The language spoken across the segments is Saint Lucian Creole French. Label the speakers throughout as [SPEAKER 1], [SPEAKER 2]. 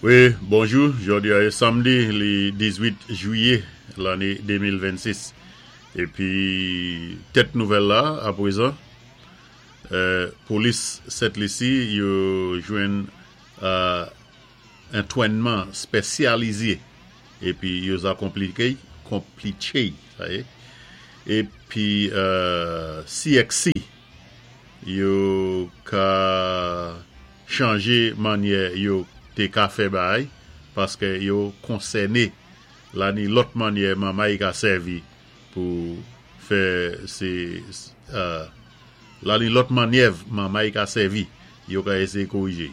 [SPEAKER 1] Wi, bonjou, jòdi a é samdi li 18 jwiyé lanné 2026. Épi tèt nouvèl la aprezan, polis Sent Lisi yo jwenn antwènman spèsyalize épi yo za konplike, konplitche sa yé, épi CXC yo ka chanje mannyè yo té ka fè bagay paskè yo konsèné la ni lòt mannyè manmay ka sèvi pou fè sé la ni lòt mannyèv manmay ka sèvi yo ka éséyé korijé.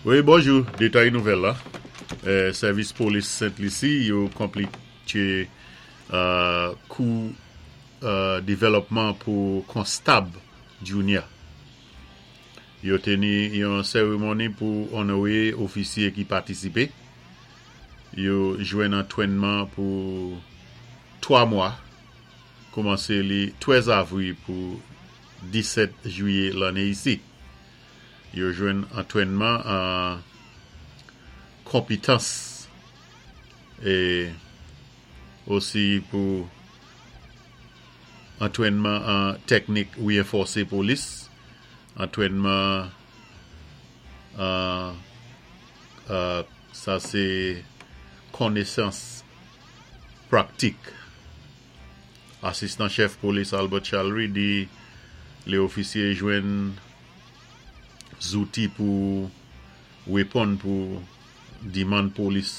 [SPEAKER 1] Wi bonjou, detay nouvèl la, sèvis polis Sent Lisi yo konplike kou devèlòpman pou konstab Junia. Yo teni yon seremoni pou onore ofisye ki patisipe. Yo jwenn antrenman pou 3 mwa, koumanse li 13 avri pou 17 jiye lanne isi. Yo jwenn antrenman an konpitans e osi pou antrenman an teknik reenfòse polis, antrenman an sa se konesans praktik. Asistan chèf polis Albert Chalry di lè ofisye jwenn zouti pou reponn pou dimann polis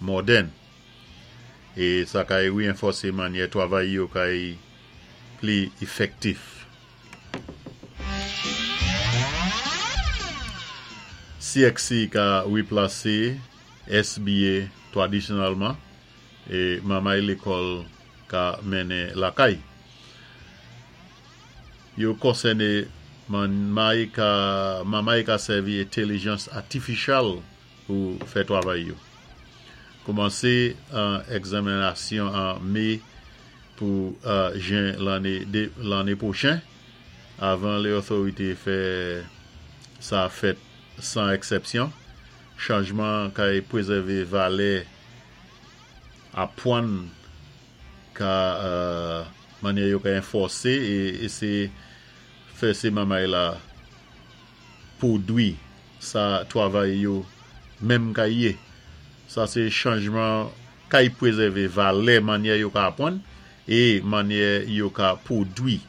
[SPEAKER 1] mòdèn e sa kay reenfòse manyè twavay yo kay pli efektif. CXC ka replase SBA tradisyonèlman e manmay lekòl ka mennen lakay. Yo konsène manmay ka manmay ka sèvi entelijans atifisyal pou fè twavay yo. Koumanse an egzaminasyon an me pou jen lanne lanne pwochen avan le otorite fè sa fèt 100 eksèpsyon. Chanjman kay prezève valè apwann ka manyè yo ka enfòse e eseye fè se manmay la pwodwi sa twavay yo menm kay ye. Sa se chanjman kay prezève valè manyè yo ka apwann e manyè yo ka pwodwi.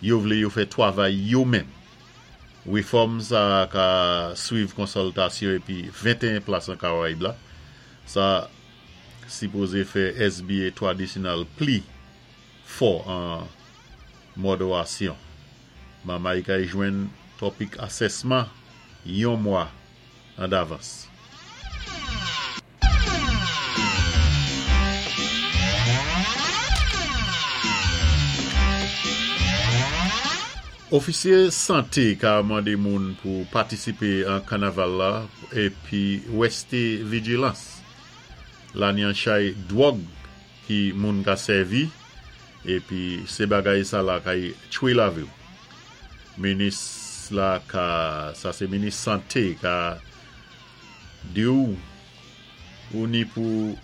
[SPEAKER 1] Yo vle yo fè twavay yo menm. Refòm sa ka swiv konsiltasyon epi 21 plas an Karayib la. Sa sipoze fè SBA tradisyonèl pli fò an mòderasyon. Manmay kay jwenn topik asèsman yon mwa an davans. Ofisye sante ka mande moun pou patisipe an kanaval la epi reste vijilans. Lanyan chay dwòg ki moun ka sèvi epi se bagay sa la kay tchwe lavi w. Minis la ka, sa se minis sante ka di w ou ni pou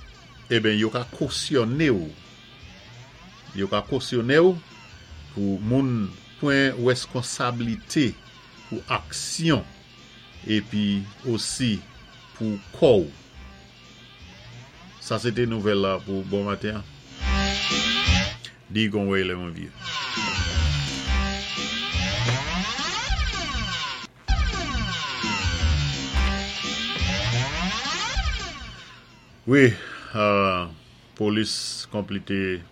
[SPEAKER 1] eben yo ka kosyone w yo ka kosyone w pou moun pwan reskonsablite pou aksyon epi osi pou kò w sa se te nouvèl la pou bon maten an di gon wey lè mwen vye. Wi, polis konplete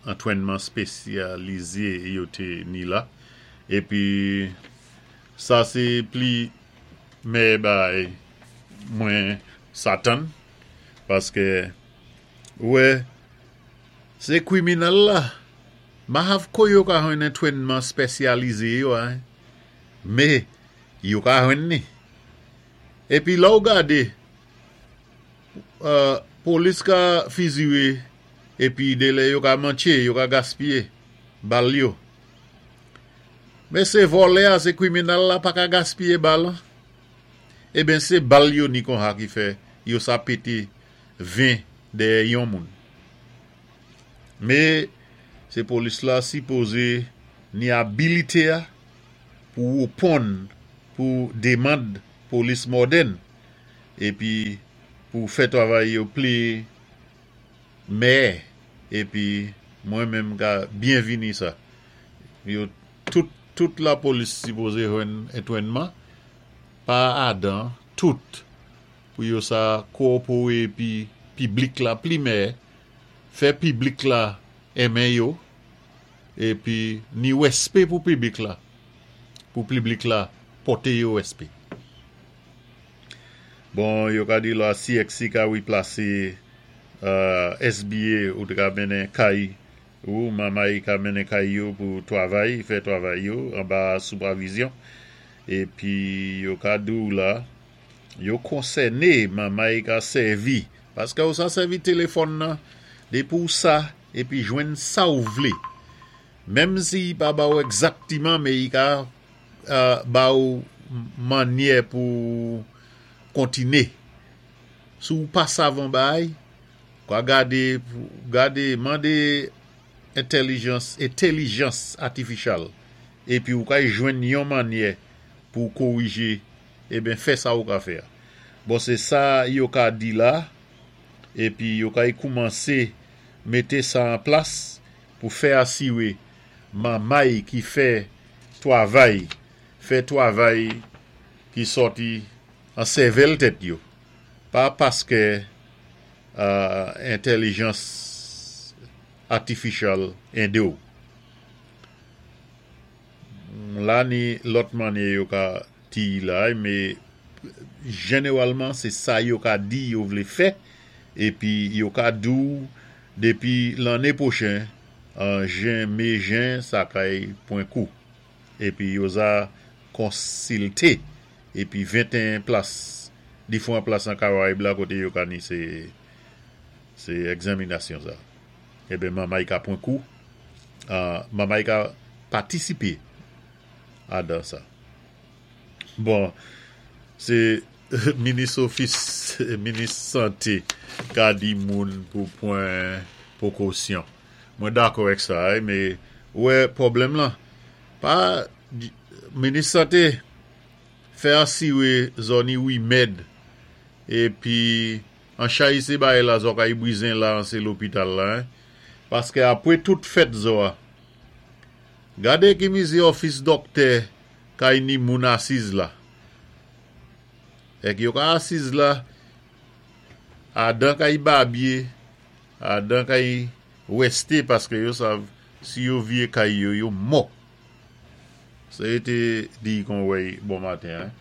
[SPEAKER 1] antrenman spesyalize yo te ni la. Epi sa se pli mèyè bagay mwen satan paske ou wè se kriminèl la Mahav ko yo ka jwenn antrenman spesyalize yo a me yo ka jwenn ni. Epi lè w gade polis ka fizire. Épi dé lè yo ka mantché, yo ka gaspiyé bal yo. Men sé vòlè a, sé kwiminal la pa ka gaspiyé bal. Eben sé bal yo ni kon sa ki fè yo sa pété 20 dèyè yon moun. Mé sé polis la sipozé ni abilité a pou wéponn pou démand polis modèn épi pou fè twavay yo pli mèyè, épi mwen menm ka byenvini sa. Yo tout tout lapolis sipozé jwenn antwénman pa adan tout pou yo sa kowopéwé épi piblik la pli mèyè, fè piblik la enmen yo épi ni wèspé pou piblik la, pou piblik la pòté yo wèspé. Bon, yo ka di la CXC ka wiplasé SBA ou té ka mennen kay ou, mamay ka mennen kay yo pou twavay, fè twavay yo anba sipèvizyon. Épi yo ka di ou la, yo konsèné mamay ka sèvi, paské ou sa sèvi téléfòn nan, dépi ou sa, épi jwenn sa ou vlé. Menm si i pa ba ou egzaktiman, mé i ka ba ou mannyè pou kontiné. Si ou pa sav on bagay, ka gadé, gadé, mandé entèlijans, entèlijans atifisyal, épi ou ka jwenn yon mannyè pou kowijé, eben fè sa ou ka fè. Bon, sé sa yo ka di la, épi yo ka koumansé mété sa an plas pou fè asiwé mamay ki fè twavay, fè twavay ki sòti an sèvèl tèt yo. Pa paské entèlijans atifisyal édé ou. La ni lòt mannyè yo ka di la, mé jénéwalman sé sa yo ka di yo vlé fè, épi yo ka di ou dépi lanné pwochen, an jen, mé jen, sa kay pwan kou. Épi yo za konsilté épi 21 plas, difwan plas an Karayib la koté yo ka ni sé sé egzaminasyon sa. Eben mamay ka pwan kou, mamay ka patisipé adan sa. Bon, sé minis ofis, minis santé ka di moun pou pwan pwékosyon. Mwen dakò èk sa, mé wè pwoblèm lan, pa minis santé fè asiwé zò ni wimèd épi an chay sé bagay la zò kay brizen la an sé lopital la, paské apwé tout fèt zò a, gadé ki mizi òfis dòktè kay ni moun asiz la. Èk yo ka asiz la, adan kay babye, adan kay wèsté paské yo sav si yo vyé kay yo, yo mò. Sa yo té di kon wèy bon maten.